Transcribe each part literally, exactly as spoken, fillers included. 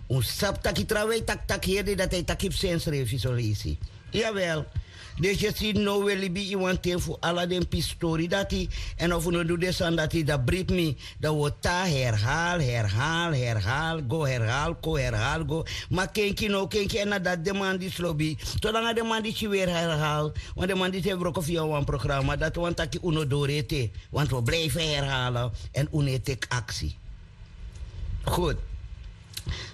Un sabi taki trawan e taki taki heri dei dati a e taki fu sensrefi so leisi. Yawel. Dus yu si now un e libi ini wan ten fu ala den pisitori dati. Èn efu un no du den sani dati dan bribi mi, dan un o tan herhal herhal herhal go herhal kon herhal go. Ma kenki no kenki èn na dati den man disi lobi. Solanga den man disi weri herhal, wan den man disi e wroko fu yu na wan programa dati wani taki un no dori ete. Wantu un o blifi herhal èn un no e teki aksi. Goed.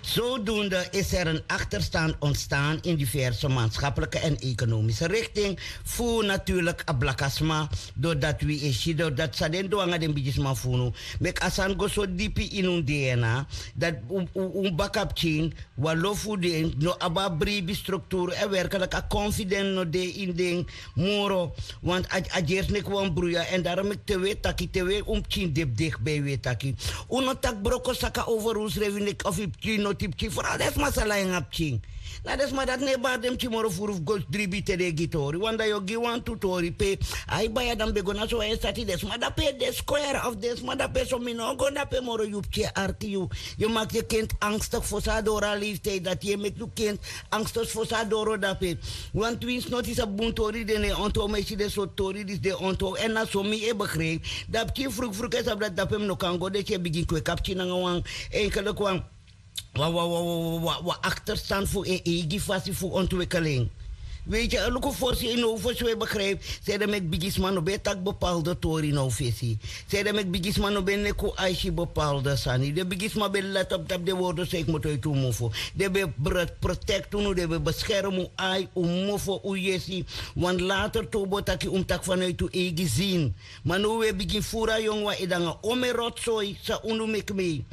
Zodoende is er een achterstand ontstaan in diverse maatschappelijke en economische richting. Fu natuurlik a blakasma doordat wi e si doordat san den du nanga den bigisma fu unu, meki a sani go so dipi ini un dna dat un baka pikin, wan lo fu den no abi a bribi strukturu èn werklik a konfident no de ini den moro. Want a gersi neki wan bruya èn daro meki te wi e taki te wi un pikin de fu deki bai wi e taki. Un no taki broko saka over unsrefi neki of yu pikin noti pikin foral den sma sala en a pikin. Na den sma dati no e bari den pikin moro furu fu go dribi te den e gi tori wan dan yu o gi wantu tori pe ai baya dan mi ben go na so wan e sati den sma dape e de skwere of den sma dape so mi no o go dape moro yu pikin e arki yu. Yu maki yu kenti angstigi fosi a doro a leiftiyi dati yu e meki yu kenti angstigi fosi a doro dape. Wantu winsi noti sabi bun tori den no e ontow ma yu si den sortu tori disi den e ontow èn na so mi e begripi. Dan pikin frukfruk e sabi dati dape mi no kan go desi e bigin kweki a pikin nanga wan enkeliki wan wan wan wan wan akterstand fu en eigi fasi fu ontwikkeling. Weiti a luku fosi yu now fosi un e begripi. Sede meki bigisma no ben e taki bepalde tori now fesi. Sede meki bigisma no ben e neki un aisi bepalde sani den bigisma ben e leti op tapu den wordo san e kmoto eti un mofo. Den ben e protekti unu den ben e beskermi un ai un mofo un yesi. Wan later te un bo taki un mus taki fanuiti un eigi zin. Ma now un e bigin furu a yongu wan ede nanga ome rotsoi san unu meki mei.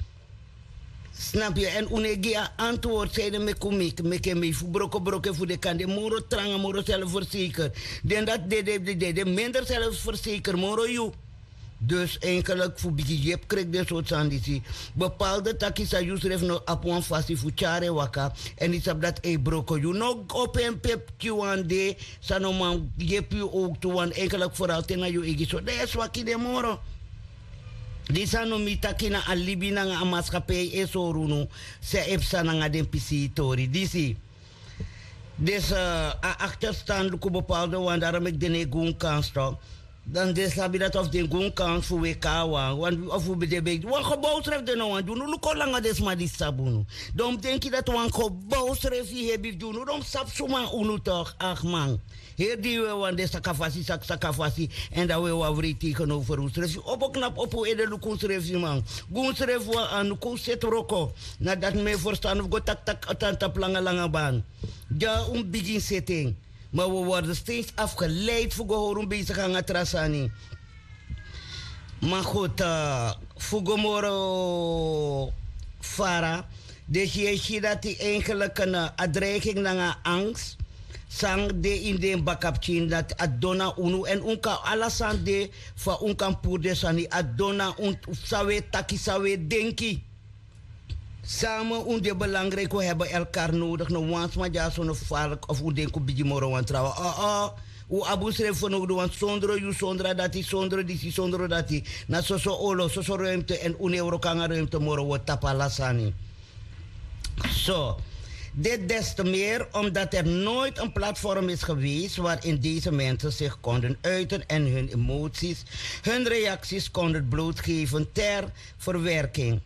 Snapu yu èn un no e gi a antwortu san ede meki un meki en mei fu brokobroko en fu den kan de moro tranga moro selfverseker. Den dati dede dede minder selfverseker moro yu. Dus enkeliki fu bigin yepi kreki den sortu sani disi. Bepalde taki san yusrefi no abi wan fasi fu tyari en waka. Èn yu sabi dati e broko yu no opo en pe pikin wan de san no man yepi yu owktu wan enkeliki foral te na yu eigi so dan yu e swaki den moro. Disi a no mi taki na a libi nanga a maskapei e sori unu san e psa nanga den pisitori disi. Dus a akterstan luku bepalde wan daro meki den no e gi un kans tok. Dan den sabi dati of den gi un kans fu weki na wan wan of wi ben de ben wan gebowsrefi den no wani gi unu luku o langa den sma disi sabi unu. Dan un mus denki dati wan gebowsrefi hebi fu gi unu dan un mus sabi suma unu tok. Akman. Heri di yu e wani de sakafasi sakasakafasi. Èn dan wi e wani wrei tegenowfer unsrefi opo knapu opo un ede luku unsrefi man. Gi unsrefi wan anu kon un seti wroko. Na dati mi e ferstan un fu go taki taki tan tapu langa langa ban. Dya un bigin seti en. Ma wi worden steeds afgeleid fu go hori un besigi nanga tra sani. Ma goed, fu go moro fara. Dus yu e si dati eigenlik na a dreiging nanga a angst san de ini den bakapikin dati a didon na unu èn un kan ala sani de. Fa un kan puru den sani a didon na un. San un e taki san un e denki. Sama un de belangriki un hebi elkari nodigi no wan sma dyaso no farliki of un denki un bigi moro wan trawan. Un abi unsrefi fernowdu wan sondro yu sondro a dati sondro disi sondro dati. Na soso olo soso ruimte èn un no e wroko nanga ruimte moro un o tapu ala sani. So, dit des te meer omdat er nooit een platform is geweest waarin deze mensen zich konden uiten en hun emoties, hun reacties konden blootgeven ter verwerking.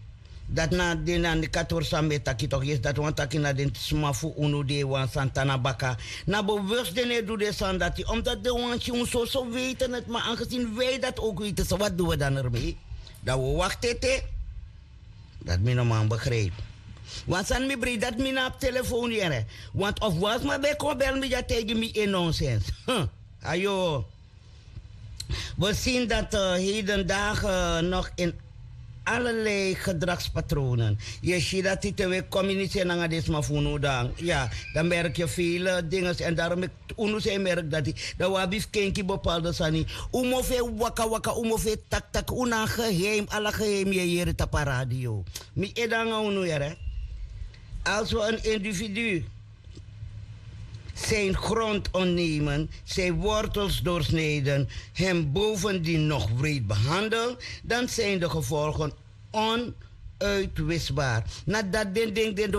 Dati na den na ni katori san mi e taki toki yesi dati wani taki na den sma fu unu di e wani sani tan na baka. Na bewus den no e du den sani dati omdati den wani si un soso weiti neti ma angesini wi dati owku weiti san wati du wi dan ermei. Dan wi o wakti ete. Dati mi no man begripi. Wan sani mi brei dati mi no abi telefon yere. Wantu ofu wan sma ben kon beli mi dya taigi mi en nonsens. Ayo. Wi si dati hedendage nog in allerlei gedragspatronen yu e si dati te wi e kominiseri nanga den sma fu unu dan ya, dan merki yu vele dinges èn darom meki unu san e merki dati. Dan wi abi fu kenki bepalde sani. Un mofu e waka waka un mofu e taki taki un na a geheim ala geheim yu e yere tapu a radio. Mi ede nanga unu yere. Als wi en individu zijn grond ontnemen, zijn wortels doorsnijden, hem bovendien nog wreed behandelen, dan zijn de gevolgen onuitwisbaar. Na dati den denki den du.